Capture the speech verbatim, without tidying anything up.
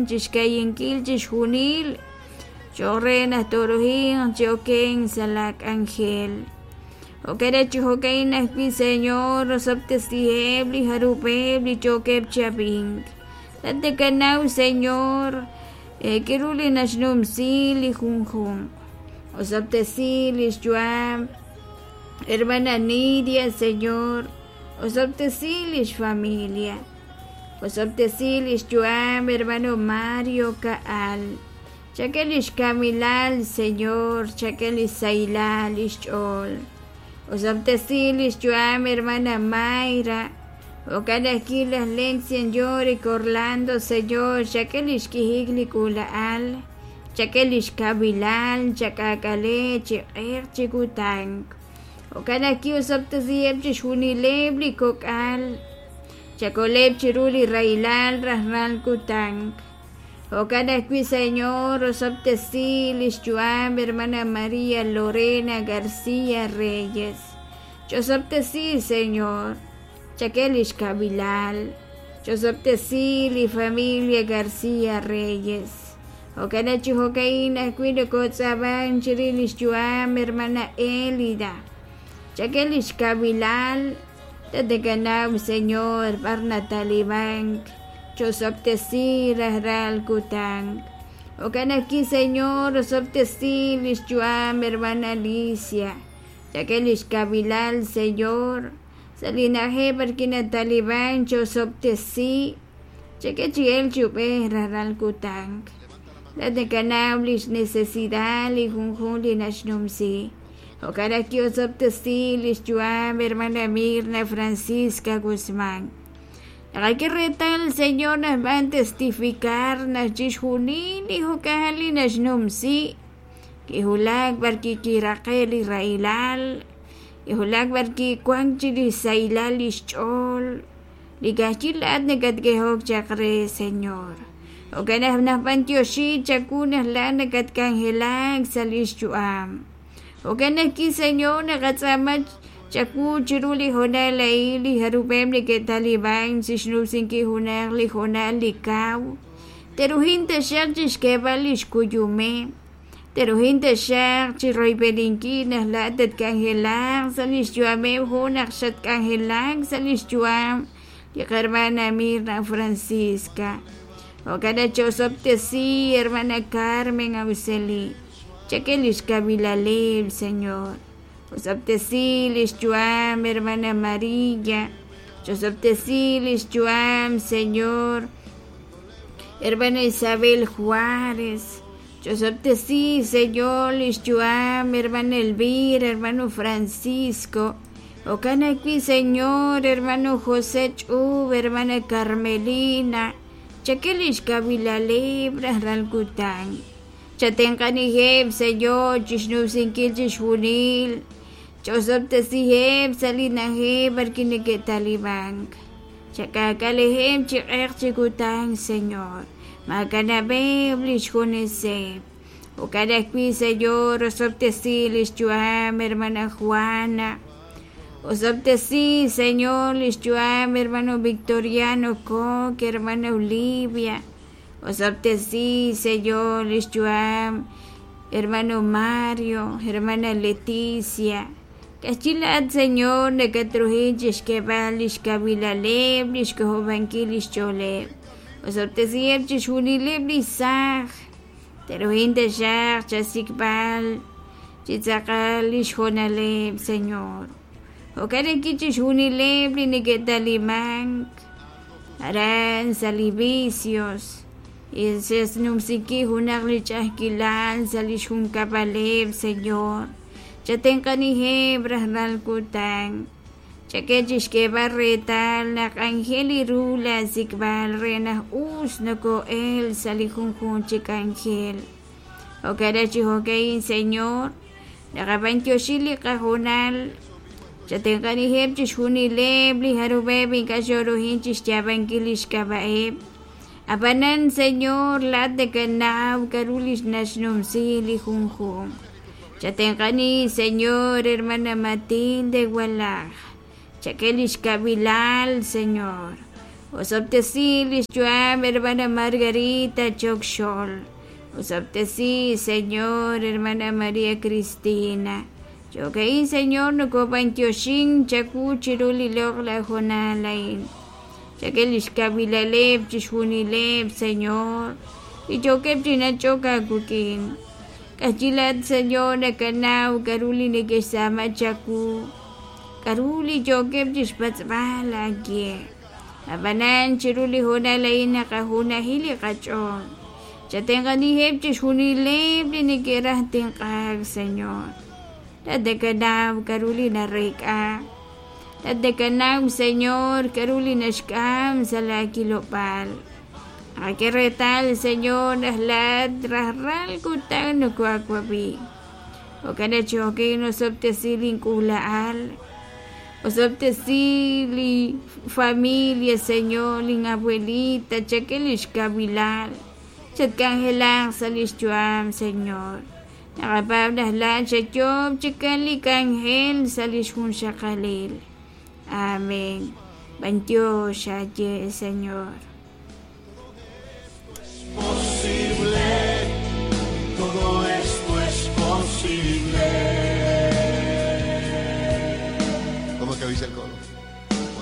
Chixka'yinkil chixjunil cho'q re naq tooruhinq chi okenk sa' la k'anjel. Jo'kan chi jo'ka'in ajwi', Señor, osob'tesiheb' li jarub'eb' li yookeb' chi ab'ink. Laa'at nakanaw, Señor, k'aru li naxnumsi li junjunq. Osob'tesi li xyu'am hermana Nidia, Señor, osob'tesi li xfamilia. Osob'tesi li xyu'am hermano Mario Ka'al. Chak'e li xkamilal, Señor, chak'e li xsahilal li xch'ool. Osob'tesi li xyu'am hermana Mayra. Jo'kan ajwi' laj Lexian Yorick Orlando, Señor, chak'e li xk'ijik li k'uula'al, chak'e li xkawilal, chak'aak'ale chi q'eq chi kutan. Jo'kan ajwi' osob'tesiheb' chixjunileb' li kok'al, chakoleb' chiru li rahilal rajlal kutan. Jo'kan ajwi', Señor, osob'tesi li xyu'am hermana María Lorena García Reyes. Ch'osob'tesi, Señor, chak'e li xkawilal, ch'osob'tesi li familia García Reyes. Jo'kan chi jo'ka'in ajwi' nokotz'aaban chirix li xyu'am hermana Elida. Chak'e li xkawilal, tatakanaw, Señor, b'ar natalibank, ch'osob'tesi rajlal kutan. Jo'kan ajwi', Señor, osob'tesi li xyu'am hermana Alicia. Chak'e li xkawilal, Señor, sa' li na'ajej b'arwi' nataliban ch'osob'tesi, chak'e chi elk chi ub'ej rajlal kutan. Laa'at nakanaw li xnecesidad li junjunq li naxnumsi. Jo'kan ajwi' osob'tesi li xyu'am hermana Mirna Francisca Guzmán. Naqak'e reetal, Señor, naq b'an testificar naq chixjunil li jo'kan li naxnumsi kijulak b'arwi' kiraqe' li rahilal, kijulak b'arwi' wank chi li xsahilal li xch'ool, li ka'ajwi' laa'at nakatk'ehok chaq re, Señor. Jo'kan naq nab'antioxi chawu naq laa'at nakatk'anjelak sa' li xyu'am. Jo'kan ajwi', Señor, naqatz'aama chawu chiru li hoonal a'in li jarub'eb' neke'taliban chixnumsinkil junaq li hoonal li kaw. Teruhin taxaq chixk'eeb'al li xkuyumeb', teruhin taxaq chiroyb'eninkil naq laa'at tatk'anjelaq sa' li xyu'ameb' jo' naq xatk'anjelak sa' li xyu'am li qarmana Mirna Francisca. Jo'kan naq ch'osob'tesi hermana Carmen Auxeli. Chak'e li xkawilaleb', Señor. Osob'tesi li xyu'am hermana María. Ch'osob'tesi li xyu'am, Señor, hermana Isabel Juárez. Ch'osob'tesi, Señor, li xyu'am hermana Elvira, hermano Francisco. Jo'kan ajwi', Señor, hermano José Ch'ub, hermana Carmelina. Chak'e li xkawilaleb' rajlal kutan. Chatenq'aniheb', Señor, chixnumsinkil chixjunil. Ch'osob'tesiheb' sa' li na'ajej b'arwi' neke'talibank. Chak'aak'aleheb' chi q'eq chi kutan, Señor. Maakanab'eb' li xjuneseb'. Jo'kan ajwi', Señor, osob'tesi li xyu'am hermana Juana. Osob'tesi, Señor, li xyu'am hermano Victoriano Coque, hermana Olivia. Osob'tesi, Señor, li xyu'am hermano Mario, hermana Leticia. Ka'ajwi' laa'at, Señor, nakatruhin chixk'eeb'al li xkawilaleb', li xk'ojob'ankil li xch'ooleb'. Osob'tesiheb' chixjunileb' li saaj. Teruhin taxaq chasik'b'al chi tz'aqal li xhoonaleb', Señor. Jo'kan ajwi' chixjunileb' li neke'talimank aran sa' li vicios. Xnumsinkil junaq li ch'a'ajkilal sa' li xjunkab'aleb', Señor. Chatenq'aniheb' rajlal kutan. Chak'e chixk'eeb'al reetal naq anjel li ru laasik'b'al re naq us noko'el sa' li junjunq chi k'anjel. Jo'kan chi jo'ka'in, Señor, naqab'antioxi li qahoonal. Chatenq'aniheb' chixjunileb' li jarub'eb' ink'a' xoruhin chixyaab'ankil li xk'ab'a'eb'. Ab'anan, Señor, laa'at nakanaw k'aru li naxnumsi li junjunq. Chatenq'ani, Señor, hermana Matilde Walaj. Chak'e li xkawilal, Señor. Osob'tesi lix yu'am hermana Margarita Chokxol. Osob'tesi Señor hermana María Cristina. Jo'ka'in Señor nokob'antioxin chawu chiru li loq'laj hoonal a'in. Chak'e lix kawilaleb' chixjunileb' Señor. Li yookeb' chi nach'ok aawik'in. K'ajyilat Señor nakanaw k'a'ru li neke'xtz'aama chawu. K'a'ru li yookeb' chixpatz'b'al aawe. Ab'anan chiru li hoonal a'in naqajunaji li qach'ool. Chatenq'aniheb' chixjunileb' li neke'raj tenq'aak Señor. Laat nakanaw k'a'ru li nareek'a. Laat nakanaw Señor k'a'ru li naxk'am sa' laakilob'aal. Naqak'e reetal Señor naq laat rajlal kutan nokoaawab'i. Jo'kan naq cho'qin osob'tesi link'uula'al. Osob'tesi li familia Señor lin abuelita chak'e lix kawilal. Chatk'anjelaq sa' lix yu'am Señor. Naqapaab' naq laat xayoob' chikan li k'anjel sa' lix junxaqalil. Amén. B'antiox aaye Señor. Posible, todo esto es posible. ¿Cómo que dice el coro?